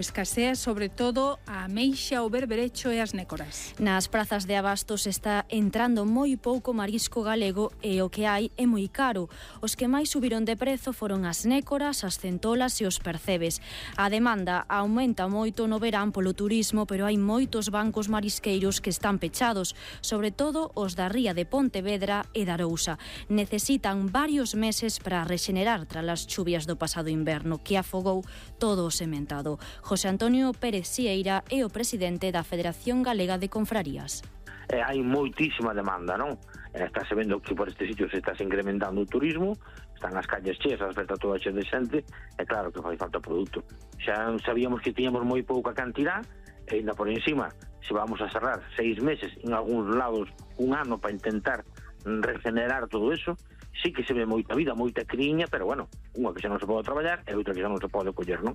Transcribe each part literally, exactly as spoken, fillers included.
Escasea sobre todo a ameixa, o berberecho e as nécoras. Nas prazas de abastos está entrando moi pouco marisco galego e o que hai é moi caro. Os que máis subiron de prezo foron as nécoras, as centolas e os percebes. A demanda aumenta moito no verán polo turismo, pero hai moitos bancos marisqueiros que están pechados, sobre todo os da ría de Pontevedra e da Arousa. Necesitan varios meses para rexenerar tras as chuvias do pasado inverno, que afogou todo o sementado. José Antonio Pérez Sieira é o presidente da Federación Galega de Confrarías. Eh, hai moitísima demanda, non? Eh, estáse vendo que por este sitio se está incrementando o turismo, están as calles cheas, as vetas toda cheas de xente, e claro que fai falta produto. Xa sabíamos que tiñamos moi pouca cantidad, e ainda por encima, se vamos a cerrar seis meses, en algúns lados un ano para intentar regenerar todo eso, sí que se ve moita vida, moita criña, pero bueno, unha que xa non se pode traballar e outra que xa non se pode coller, non?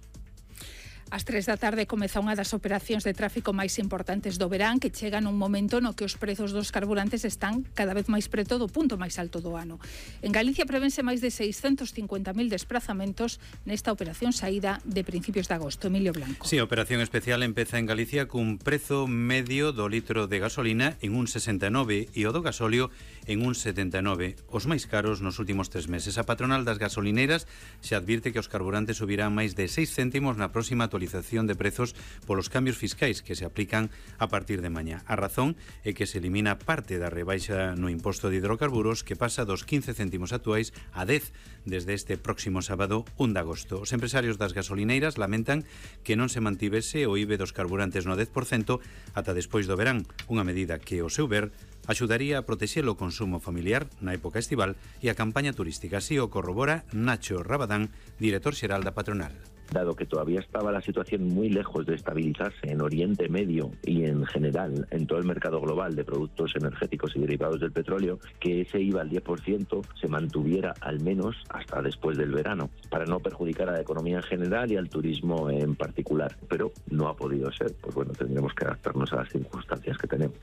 Ás tres da tarde comeza unha das operacións de tráfico máis importantes do verán, que chega nun momento no que os prezos dos carburantes están cada vez máis preto do punto máis alto do ano. En Galicia prevense máis de seiscentos cincuenta mil desplazamentos nesta operación saída de principios de agosto. Emilio Blanco. Sí, a operación especial empeza en Galicia cun prezo medio do litro de gasolina en un sesenta e nove e o do gasóleo en un setenta e nove. Os máis caros nos últimos tres meses. A patronal das gasolineras se advirte que os carburantes subirán máis de seis céntimos na próxima actualización de prezos polos cambios fiscais que se aplican a partir de mañá. A razón é que se elimina parte da rebaixa no imposto de hidrocarburos, que pasa dos quince céntimos actuais a dez desde este próximo sábado un de agosto. Os empresarios das gasolineiras lamentan que non se mantivese o I B E dos carburantes no dez por cento ata despois do verán, unha medida que, ao seu ver, axudaría a protexer o consumo familiar na época estival e a campaña turística. Así o corrobora Nacho Rabadán, director xeral da patronal. Dado que todavía estaba la situación muy lejos de estabilizarse en Oriente Medio y en general en todo el mercado global de productos energéticos y derivados del petróleo, que ese I V A al diez por ciento se mantuviera al menos hasta después del verano, para no perjudicar a la economía en general y al turismo en particular. Pero no ha podido ser, pues bueno, tendremos que adaptarnos a las circunstancias que tenemos.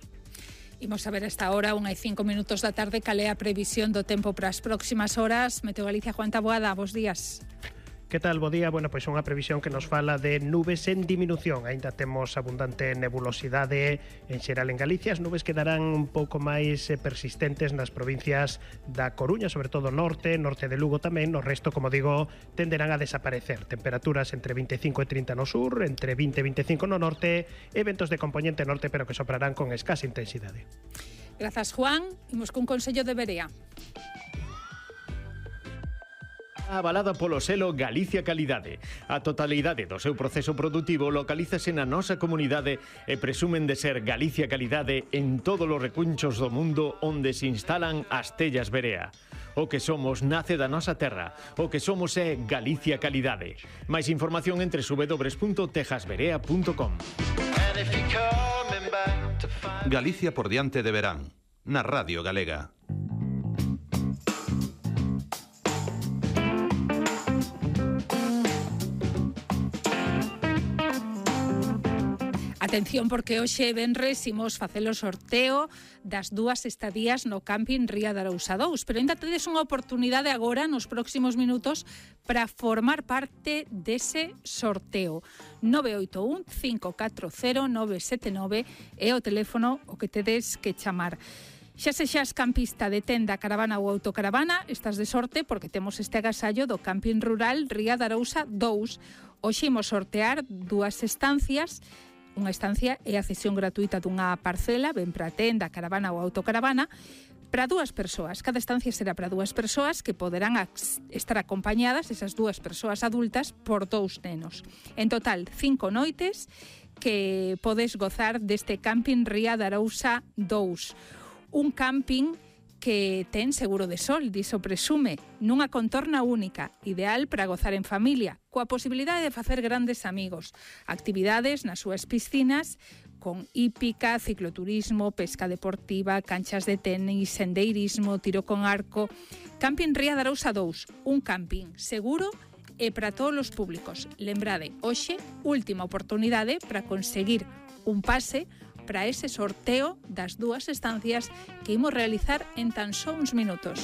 Imos a ver a esta hora, unha e cinco minutos da tarde, cal é a previsión do tempo para as próximas horas. Meteo Galicia, Juan Taboada, bos días. Que tal, bo día? Bueno, pois unha previsión que nos fala de nubes en diminución. Aínda temos abundante nebulosidade en xeral en Galicia. As nubes quedarán un pouco máis persistentes nas provincias da Coruña, sobre todo norte, norte de Lugo tamén. No resto, como digo, tenderán a desaparecer. Temperaturas entre vinte e cinco e trinta no sur, entre vinte e vinte e cinco no norte, e ventos de componente norte, pero que soprarán con escasa intensidade. Grazas, Juan. Imos cun consello de Berea. Avalada polo selo Galicia Calidade. A totalidade do seu proceso produtivo localízase na nosa comunidade e presumen de ser Galicia Calidade en todos os recunchos do mundo onde se instalan as tellas Berea. O que somos nace da nosa terra. O que somos é Galicia Calidade. Máis información entre w w w punto tejasberea punto com. Galicia por diante de verán, na Radio Galega. Atención, porque hoxe venres imos facer o sorteo das dúas estadías no camping Ría de Arousa dous, pero ainda tedes unha oportunidade agora nos próximos minutos para formar parte dese sorteo. nove oito un, cinco catro cero, nove sete nove é o teléfono o que tedes que chamar. Xa sexas campista de tenda, caravana ou autocaravana, estás de sorte porque temos este agasallo do camping rural Ría de Arousa dous. Hoxe imos sortear dúas estancias. Unha estancia é a cesión gratuita dunha parcela, ben para tenda, caravana ou autocaravana, para dúas persoas. Cada estancia será para dúas persoas que poderán estar acompañadas, esas dúas persoas adultas, por dous nenos. En total, cinco noites que podes gozar deste camping Ría de Arousa dous. Un camping que ten seguro de sol, diso presume, nunha contorna única, ideal para gozar en familia, coa posibilidade de facer grandes amigos, actividades nas súas piscinas, con hípica, cicloturismo, pesca deportiva, canchas de tenis, sendeirismo, tiro con arco. Camping Ría de Arousa dous, un camping seguro e para todos os públicos. Lembrade, hoxe, última oportunidade para conseguir un pase para ese sorteo das dúas estancias que imos realizar en tan só uns minutos.